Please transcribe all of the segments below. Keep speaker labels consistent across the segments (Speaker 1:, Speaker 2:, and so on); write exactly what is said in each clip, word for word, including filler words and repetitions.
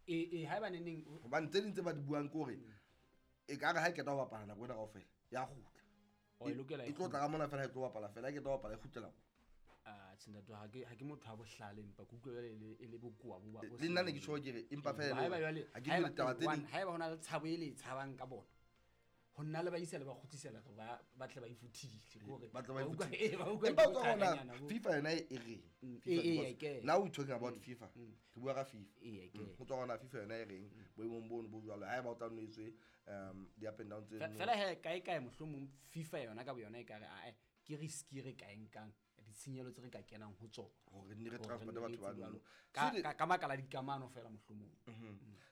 Speaker 1: E e haeba neneng
Speaker 2: Hobane tse ding tse ba di buang ke hore e ka re ha e qeta ho bapala nako ena kaofela ya kgutla.
Speaker 1: O e lokela
Speaker 2: e tlo tla ka mona fela, ha e tlo bapala fela, ha e qeta ho bapala e kgutlela ko.
Speaker 1: Ah, tjhe ntate, ha ke ha ke motho wa bohlale, empa ke utlwa jwale e le- e le bokowa bo ba- bo
Speaker 2: Le nna ne ke tjho ke re empa fela e le
Speaker 1: Haeba
Speaker 2: hore
Speaker 1: jwale
Speaker 2: ha ke dumele taba tse
Speaker 1: haeba
Speaker 2: ding.
Speaker 1: Haeba hona le tshabo e le e tshabang ka bona, ho nna le ba isa le ba kgutlisela re ba ba tle ba ifuthile ke hore
Speaker 2: Ba tle ba
Speaker 1: ba utlwa-
Speaker 2: ifuthile.
Speaker 1: eh, ba utlwa
Speaker 2: Empa
Speaker 1: ke
Speaker 2: o tswa hona
Speaker 1: bothakanyana bo.
Speaker 2: FIFA yona e reng?
Speaker 1: Mm,
Speaker 2: FIFA,
Speaker 1: eh, eh,
Speaker 2: because
Speaker 1: ke.
Speaker 2: now we talking about FIFA, re bua ka FIFA.
Speaker 1: Ee, ke.
Speaker 2: Mm, ho tswa hona FIFA yona e reng boemong bono bo jwalo, haeba o tla nno etswe um di-up and down tse
Speaker 1: Fe- fela he kae kae, mohlomong FIFA yona ka boyona e ka re ae, ke risk e re ka e nkang, ditshenyehelo tse re ka kenang ho tsona
Speaker 2: hore nne re
Speaker 1: hore
Speaker 2: transporte
Speaker 1: re
Speaker 2: batho ba
Speaker 1: etse
Speaker 2: nono.
Speaker 1: jwalo. Ka- ka ka baka la dikamano fela mohlomong.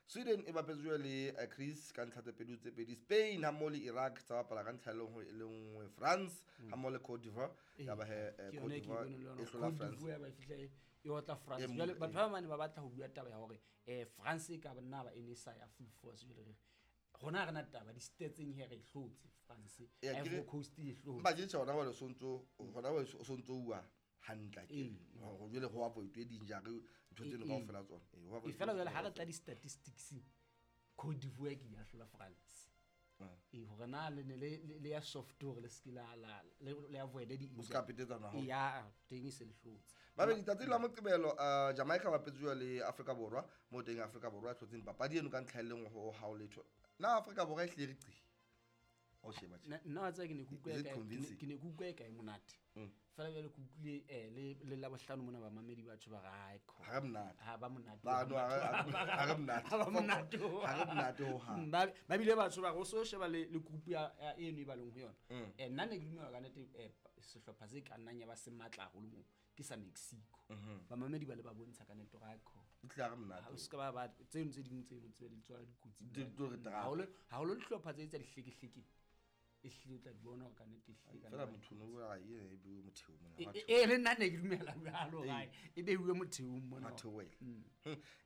Speaker 2: Sweden e bapetse jwale le eh, Greece ka ntlha tse pedi ho tse pedi. Spain ha mmoho le Iraq tsa bapala ka ntlha e le nngwe e le nngwe. France ha mmoho le Cote d'Ivoire, ya ba he eh,
Speaker 1: Ke
Speaker 2: Cote
Speaker 1: yona e ke
Speaker 2: d'Ivoire
Speaker 1: boneng le yona.
Speaker 2: e hlola
Speaker 1: Cote
Speaker 2: France.
Speaker 1: d'Ivoire ba e fihla e e otla France.
Speaker 2: E mo-
Speaker 1: Jwale batho ba bane ba batla ho bua taba ya hore eh France e ka nna ba e ne sa ya full force. Jwale re rona ha re na taba di-statseng he, re e hlotse France.
Speaker 2: Ee, ke re-
Speaker 1: Ivory Coast e hlotse.
Speaker 2: Empa ke tjhe, hona jwale o sontso hona jwale o sontso uwa hantle akere?
Speaker 1: Ee.
Speaker 2: Hore jwale ho avoid-we di-injury, ntho tseno
Speaker 1: Ee,
Speaker 2: kaofela tsona. Ee, ho
Speaker 1: e
Speaker 2: avoid-we
Speaker 1: fela jwale ha re
Speaker 2: kaofela.
Speaker 1: tla di-statistics, Cote d'Ivoire ke ya hlola France.
Speaker 2: Ah.
Speaker 1: Ee, hore na le ne le le- le ya soft hore le se ke la la le le avoid di
Speaker 2: O ska petetsana haholo.
Speaker 1: Ya teng e se le hlotse.
Speaker 2: Babedi tsatsi la Moqebelo, uh, Jamaica bapetse jwale le Afrika Borwa, mo teng Afrika Borwa e hlotseng papadi eno ka ntlha e le nngwe ho hao letho. Na Afrika Borwa e hlile re qi o sheba tje?
Speaker 1: Nna nna wa tseba ke ne ke utlwa
Speaker 2: Is it
Speaker 1: e kae- ke ne-
Speaker 2: convincing?
Speaker 1: ke ne ke utlwa e kae monate fela. Jwale ke utlwile eh, le le Labohlano mona bamamedi batho ba re hai kho
Speaker 2: Ha re monate.
Speaker 1: Ha ba monate.
Speaker 2: Ba no, ha re- ha re monate.
Speaker 1: Ha ba monate.
Speaker 2: Ha re monate hohang.
Speaker 1: Mm, ba ba bile batho ba re o so sheba le le group ya ya eno e ba leng ho yona. Eh nna ne ke dumela ka nnete, eh, sehlopha se ka nnang ya ba se matla haholo moo ke sa Mexico. Bamamedi ba le ba bontsha ka nnete hore hai kho
Speaker 2: E tlile ha re
Speaker 1: ha
Speaker 2: monate.
Speaker 1: O se ka ba ba tseno tse ding tseno tse di tswala dikotsi.
Speaker 2: Di tlo re trapa.
Speaker 1: Haholo haholo dihlopha tse tsa dihlekehleke e hlile o tla di bona hore ka nnete e hlile ka
Speaker 2: Fela
Speaker 1: nnete.
Speaker 2: motho no a e e bue motheo mona.
Speaker 1: E- e e, le nna ne ke dumela jwalo gae e beiwe motheong mona.
Speaker 2: Ha theohela. Hmm.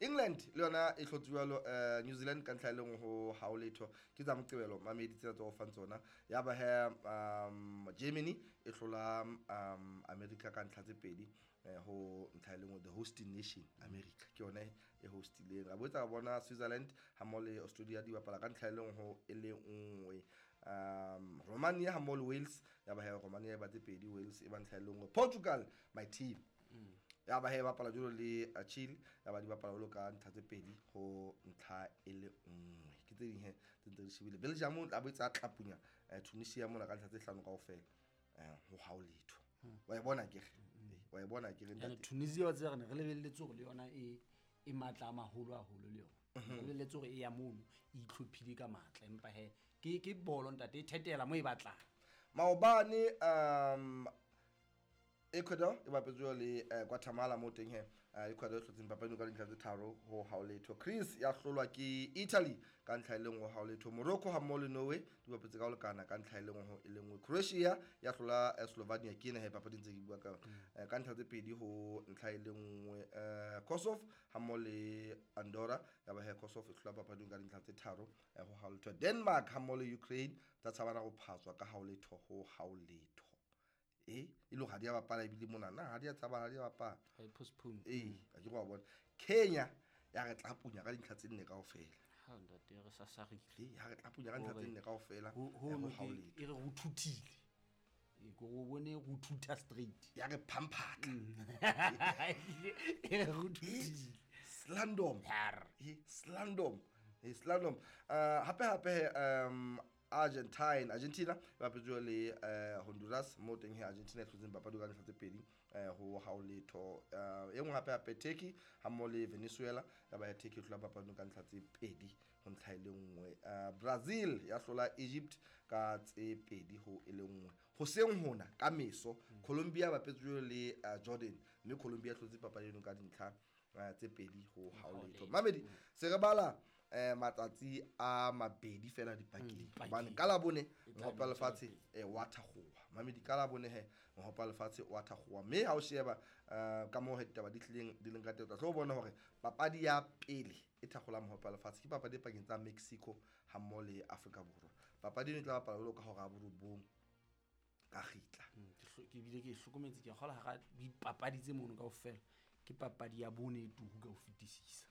Speaker 2: England le yona e hlotse jwalo eh, New Zealand ka ntlha e le nngwe ho hao letho. Ke tsa Moqebelo, mamedi, tsena tse o fang tsona. Ya ba he um Germany e hlola um America ka ntlha tse pedi eh, ho ntlha e le nngwe. The hosting nation America ke yona e hostileng. Ra boetsa ra bona Switzerland ha mmoho le Australia di bapala ka ntlha e le nngwe ho e le nngwe. um Romania ha mmoho le Wales, ya ba he Romania e ba tse pedi, Wales e ba ntlha e le nngwe. Portugal, my team, ya ba he bapala jwalo le uh, Chile, ya ba di bapala jwalo ka ntlha tse pedi ho ntlha e le nngwe. Ke tse ding he tse ntse re shebile. Belgium a boetse a tlapunya eh, Tunisia mona ka ntlha tse hlano kaofela eh, ho hao letho. Wa e bona akere? Eh, wa e bona akere,
Speaker 1: And
Speaker 2: ntate?
Speaker 1: Tunisia wa tseba re ne re lebelletse hore le yona e e matla a maholo haholo, le yona re lebelletse hore e ya mono e itlhophile ka matla, empa he ke ke bolo ntate, e thetela mo e batlang.
Speaker 2: Maobane um Ecuador e bapetse jwalo le eh, Guatemala, mo teng he eh, Ecuador e hlotseng papadi eno ka dintlha tse tharo ho hao letho. Greece ya hlolwa ke Italy ka ntlha e le nngwe ho hao letho. Morocco ha mmoho le Norway di bapetse ka ho lekana ka ntlha e le nngwe ho e le nngwe. Croatia ya hlola eh, Slovenia, ke ena he papading tse ke bua ka yona, eh, ka ntlha tse pedi ho ntlha e le nngwe. eh, Kosovo ha mmoho le Andorra, ya ba he Kosovo e hlola papading ka dintlha tse tharo eh, ho hao letho. Denmark ha mmoho le Ukraine tsa tshabana ho phatswa ka hao letho ho hao letho. E e le hore ha di a bapala ebile mona na ha di a tshaba, ha di a bapala.
Speaker 1: E postpone.
Speaker 2: Ee, a ke wa bona Kenya ya re tlapunya ka dintlha tse nne kaofela.
Speaker 1: Ha ntate re sasarile.
Speaker 2: Ee, ha re tlapunya ka ntlha tse nne kaofela
Speaker 1: ho
Speaker 2: eh,
Speaker 1: ho
Speaker 2: ho
Speaker 1: no
Speaker 2: hao
Speaker 1: ke
Speaker 2: letho.
Speaker 1: E re ho thuthile, e ko o bone go thutha straight.
Speaker 2: Ya re phamphatla.
Speaker 1: E re go thuthile.
Speaker 2: Slandom.
Speaker 1: Har.
Speaker 2: E slandom, e slandom. uh, hape hape um Argentine Argentina e bapetse le eh, Honduras, mo teng he Argentina e hlotseng papadi ka ntlha tse pedi eh, ho hao letho. Eh, e nngwe hape hape, Turkey ha mmoho le Venezuela, ya ba ya Turkey e hlola papadi ka ntlha tse pedi ho ntlha e le nngwe. Eh, Brazil ya hlola Egypt ka tse pedi ho e le nngwe. Hoseng hona ka meso, Colombia bapetse le eh, Jordan, mme Colombia e hlotse papadi eno ka dintlha eh, tse pedi ho hao letho. Mamedi, se re bala eh matsatsi a mabedi fela dipakeng,
Speaker 1: dipakeng.
Speaker 2: Hobane ka Labone
Speaker 1: E tla
Speaker 2: mohope wa
Speaker 1: be
Speaker 2: lefatshe eh wa thakgowa. Mamedi, ka Labone he mohope wa lefatshe wa thakgowa, mme ha o sheba eh, ka moo he ditaba di tlileng di leng ka teng, o tla tlo bona hore papadi ya pele e thakgolang mohope wa lefatshe ke papadi e pakeng tsa Mexico ha mmoho le Afrika Borwa. Papadi eno e tla bapala jwalo ka hora ya borobong ka kgitla.
Speaker 1: Mm, ke hlo- ke bile ke e hlokometse, ke kgola hara dipapadi tse mono kaofela ke papadi ya bone e tuhu ka ho fetisisa.